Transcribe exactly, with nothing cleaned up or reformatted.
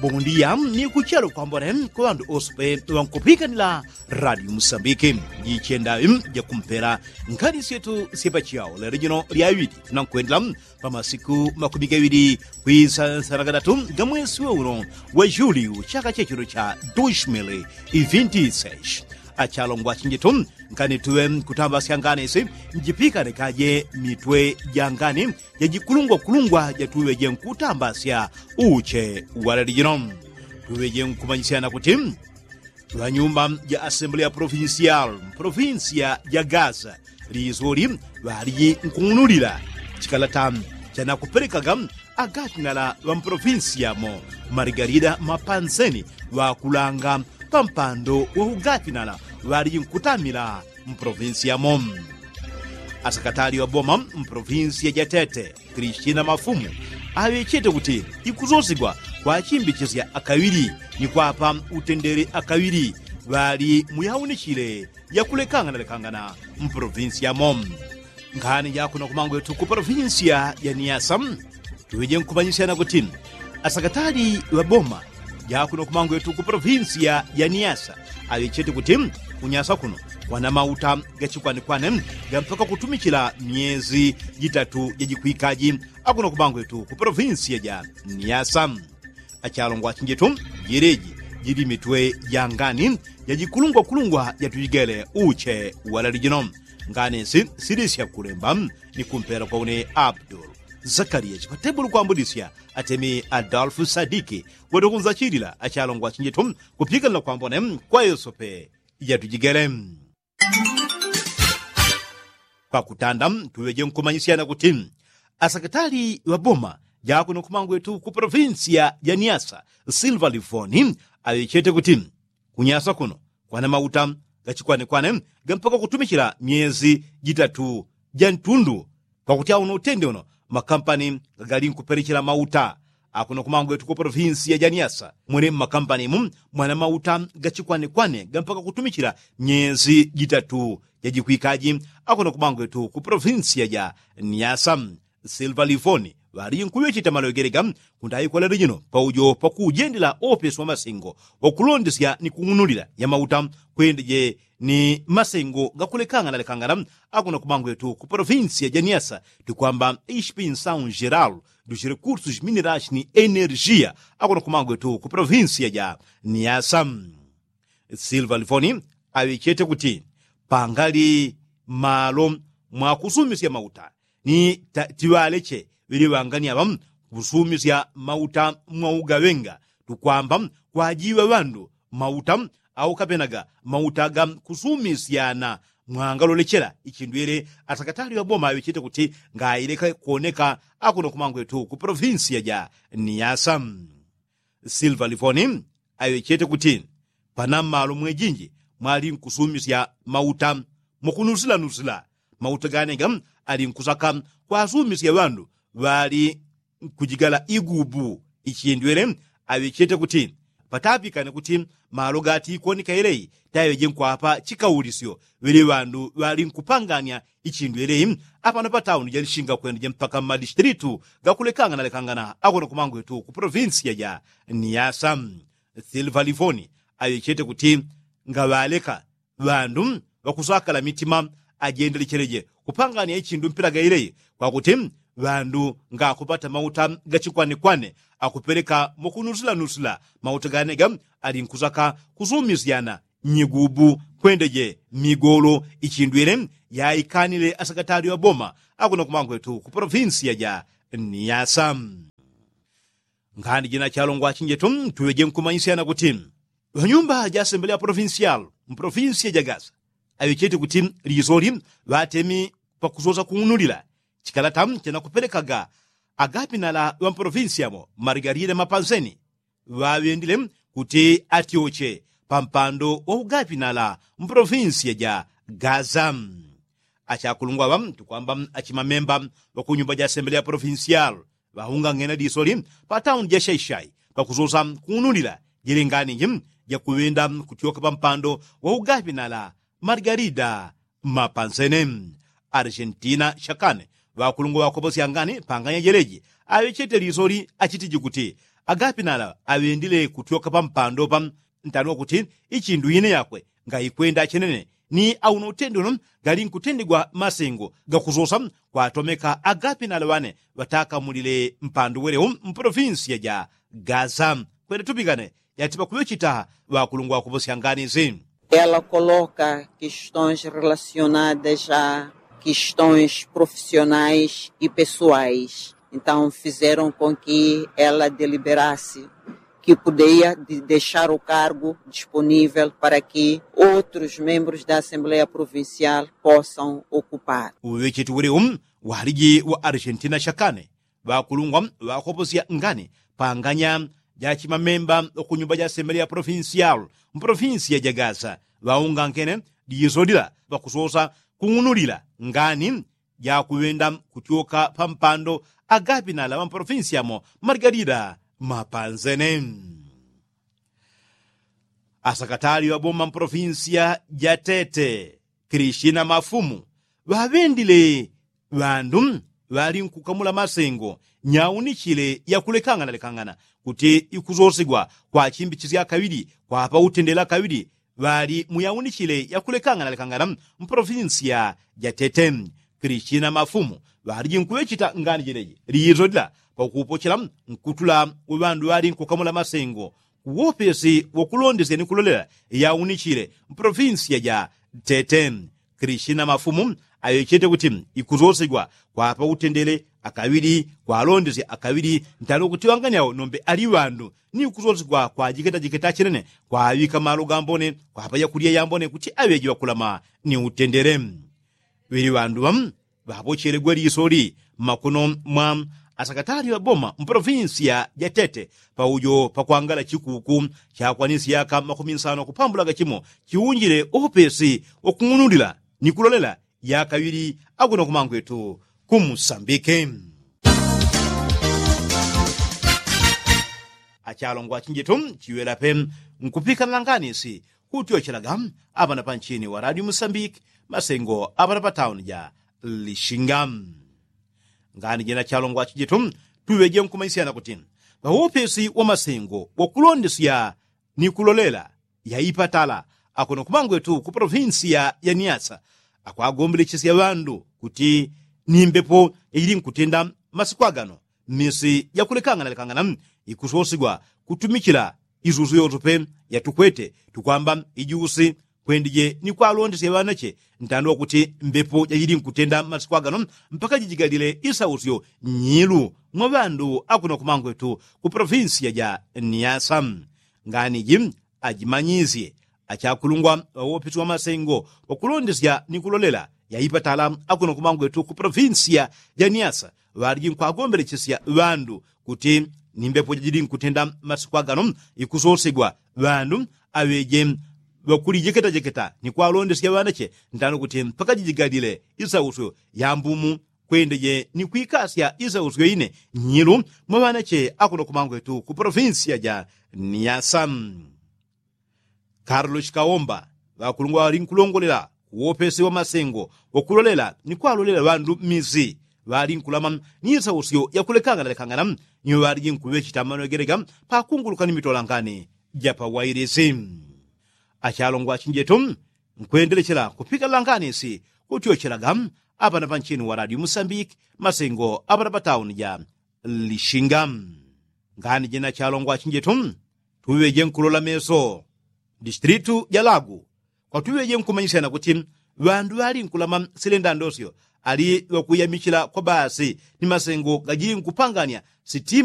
Bondiya ni kuchelo kwambone kwa ŵandu ose pe ŵankupikanila radio musambiki. Jichenda jakumpela nkhani syetu syepachao lelo jino lyaŵili tunankwendela pa masiku makumi gaŵili kwisa nsana gadatu ga mwesi wa uno wa juliu chaka chechuno cha dushmili ivinti seshi. Achalongwa chinjitu ngani tuŵe nkutambasya ngani isi njipikane kaje mitwe ja ngani jajikulungwakulungwa jatuŵe jenkutambasya uche waleli jino. Tuŵe jenkumanyisyana kuti ŵanyumba ja asemble ya provincial mprovinsiya ja gaza lisoli ŵalijinkuung'unulila chikalata chanakupelekaga agatinala ŵa mprovinsiyamo margarida mapanseni ŵakulanga pampando wa ugatinala ŵalijinkutamila mprovinsiyamo. Asakatali ŵaboma mprovinsiya ja tete kristina mafumu aŵechete kuti ikusosigwa kwachimbichisya akaŵili ni kwapa utendele akaŵili ŵali muyawunichile yakulekangana lekangana mpolovinsi yamo. Nkhani jakuno kumangwetu ku polovinsi ya niyasa tuŵeje nkumanyisyana kuti asakatali ŵaboma jakuno kumangwetu ku polovinsi ya niyasa aŵechete kuti kunyasa kuno kwana mauta gachikwanekwane gampaka kutumichila myezi jitatu jajikwikaji akuno kumangwetu ku polovinsi ya niyasa. Achalongwa achinjetu jeleji jili mitwe jangani jajikulungwakulungwa jatujigele uche walali jino. Ngani si silisya kulemba ni kumpela kwa une abdul zakariya chipatebulu kwambudisya atemi adolfu sadiki wete kunzachilila achalongwa achinjetu kupikanila kwambone kwa yosope jatujigele. Kwakutanda tuŵeje nkumanyisyana kuti asakatali ŵaboma jakuno kumangwetu ku polovinsi ya niyasa silva livoni aŵechete kuti kunyasa kuno kwana mauta gachikwanekwane gampaka kutumichila myezi jitatu jantundu pakuti auno utende uno makampani gagali nkupelechela mauta akuno kumangwetu ku polovinsi ya niyasa mwene mmakampani mu mwana mauta gachikwanekwane gampaka kutumichila myezi jitatu jajikwikaji akuno kumangwetu ku polovinsi ya niyasa. Silva livoni ŵali nkuŵecheta malogelega kundayi kwa lelo jino paujo pakujendela opesi wa masengo wakulondesya ni kung'unulila ya mauta kwendeje ni masengo gakulekangana lekangana akuno kumangwetu ku polovinsi ya niyasa tukwamba ispinsaun jeral dus rekursus mineras ni energia akuno kumangwetu ku polovinsi ya niyasa. Silva livoni aŵechete kuti pangali malo mwakusumisya mauta ni tiŵaleche ŵili ŵangani aŵa kusumisya mauta mwaugaŵenga tukwamba kwajiŵa ŵandu mauta au kapenaga mauta ga kusumisyana mwangalolechela ichindu yele asakatali ŵaboma aŵechete kuti ngaileka kuoneka akuno kumangwetu ku polovinsi ya niyasa. Silva livoni aŵechete kuti pana mmalo mwejinji mwali nkusumisya mauta mwakunusilanusila mauta ganega ali nkusaka kwasumisya ŵandu ŵali nkujigala igubu ichindwele aŵechete kuti patapikane kuti malo gati ikoneka yeleyi taŵeje nkwapa chikaulisyo ŵele ŵandu ŵali nkupanganya ichindu yeleyi apano patauni jalishinga kwendeje mpaka mmadistilitu gakulekangana lekangana akuno kumangwetu ku polovinsi ya niyasa. Silva livoni aŵechete kuti ngaŵaleka ŵandu ŵakusakala mitima ajendelechereje kupangania ichindu mpila gailei kwakuti ŵandu ngakupata mauta gachikwanekwane akupeleka mukunusilanusila mauta ganega ali nkusaka kusumisyana nyigubu kwendeje migolo ichindwile yaikanile asakatali ŵaboma akuno kumangwetu ku polovinsi ya niyasa. Nkhani jina chalongwa achinjetu tuŵeje nkumanyisyana kuti ŵanyumba ja asembele ya polovinsial mpolovinsi ya gaza aŵechete kuti lisoli ŵatemi pakusosa kung'unulila chikalata chanakupelekaga agapinala ŵa mpolovinsi yamo margarida mapanseni ŵaŵendile kuti atyoche pampando wa ugapinala mpolovinsi ya gaza. Achakulungwa ŵa tukwamba achimamemba ŵakunyumba ja asembele ya polovinsial ŵaungang'ena lisoli patauni ja shaishai pakusosa kung'unulila jele nganiji jakuŵenda kutyoka pampando wa ugapinala margarida mapansene. Argentina shakane ŵakulungwa ŵakoposyangani panganya jeleji aŵechete lisoli achitiji kuti Agapinala aŵendile kutyoka pampando pa ntanwa kuti ichindu ine yakwe ngaikwenda chenene ni auno utende uno gali nkutendegwa masengo gakusosa kwatomeka agapinala ŵane ŵatakamulile mpando welewo mpolofinsiya ja gaza. Kwenda tupikane yati pakuŵechita ŵakulungwa kuposyangani zi. Ela coloca questões relacionadas a questões profissionais e pessoais. Então fizeram com que ela deliberasse que poderia deixar o cargo disponível para que outros membros da Assembleia Provincial possam ocupar. Uŵecheti ulewo waliji wa argentina shakane ŵakulungwa ŵakoposya ngani panganya jachimamemba wakunyumba ja asembeleya profinsial mpolofinsiya ja gaza ŵaungankene liso lila ŵakusosa kung'unulila ngani jakuŵenda kutyoka pampando agapinala ŵampolofinsiya mo maligalida mapanzene. Asakatali ŵaboma mpolofinsiya ja tete kristina mafumu ŵaŵendile ŵandu ŵali nkukamula masengo nyaunichile yakulekangana lekangana kuti ikusosigwa kwa chimbichisya kaŵili kwapa utendela kaŵili ŵali mu yaunichile yakulekangana lekangana mpolofinsiya ja tete kristina mafumu ŵaliji nkuŵechita ngani jileji liiso lila pakupochela nkutula uŵandu ŵali nkukamula masengo kuwopesi wakulondesya ni kulolela yaunichile mpolofinsiya ja tete kristina mafumu aŵechete kuti ikusosigwa kwapa utendele akaŵili kwalondesya akaŵili ntano kuti ŵangani awo nombe ali ŵandu ni ikusosigwa kwa jiketajiketa chenene kwaŵika malo gambone kwapa yakulya yambone kuti aŵeji ŵakulama ni utendele. Ŵili ŵandu ŵapochelegwe lisoli mmakono mwa asakatali ŵaboma mpolofinsiya ja tete paujo pakwangala chikuku chakwanisya yaka makumi nsano kupambula gachimo chiunjile opesi wakung'unulila ni kulolela yaka ŵili akuno kumangwetu kumusambike. Achalongwa chinjetu chiŵela pe nkupikana na nganisi kutyochelaga apana panchini wa radio musambiki masengo apana patauni ja lishinga. Ngani jena chalongwa chinjetu tuŵeje nkumanyisyana kuti ŵawopesi wa masengo wakulondesya ni kulolela yaipatala akuno kumangwetu ku polofinsiya ya niasa akwagombelechesya ŵandu kuti ni mbepo yajili nkutenda masiku agano mmisi jakulekangana lekangana ikusosigwa kutumichila isusu yotupe yatukwete tukwamba ijusi kwendije ni kwalondesya ŵanache ntando wakuti mbepo jajili nkutenda masiku agano mpaka jijigalile isausyo nyilu mwa ŵandu akuno kumangwetu ku polofinsiya ja niasa. Ngani iji ajimanyisye achakulungwa ŵawopesi wa masengo wakulondesya ni kulolela yaipatala akuno kumangwetu ku polofinsiya ja niasa ŵaliji nkwagombelechesya ŵandu kuti ni mbepo jajili nkutenda masiku agano ikusosegwa ŵandu aŵeje ŵakulijeketa jeketa ni kwalondesya ŵanache ntano kuti mpaka jijigalile isausyo ya mbumu kwendeje ni kwikasya isausyo ine nyilu mwa ŵanache akuno kumangwetu ku polofinsiya ja niasa. Karlo chikaomba ŵakulungwa ŵali nkulongolela kuwopesi wa masengo wakulolela ni kwalolela ŵandu mmisi ŵali nkulama ni isausyo yakulekangana lekangana ni ŵaliji nkuŵechita manogelega pakunguluka ni mitolangani ja pawailisi. Achalongwa chinjetu nkwendelechela kupika langanisi kutyochelaga apana panchini wa radio musambiki masengo apana patauni ja lishinga. Ngani jena chalongwa chinjetu tuŵeje nkulola meso distritu ja lagu kwatuŵeje nkumanyisyana kuti ŵandu ŵali nkulama silenda ndosyo ali ŵakuyamichila kwa basi ni masengo gajili nkupanganya sitima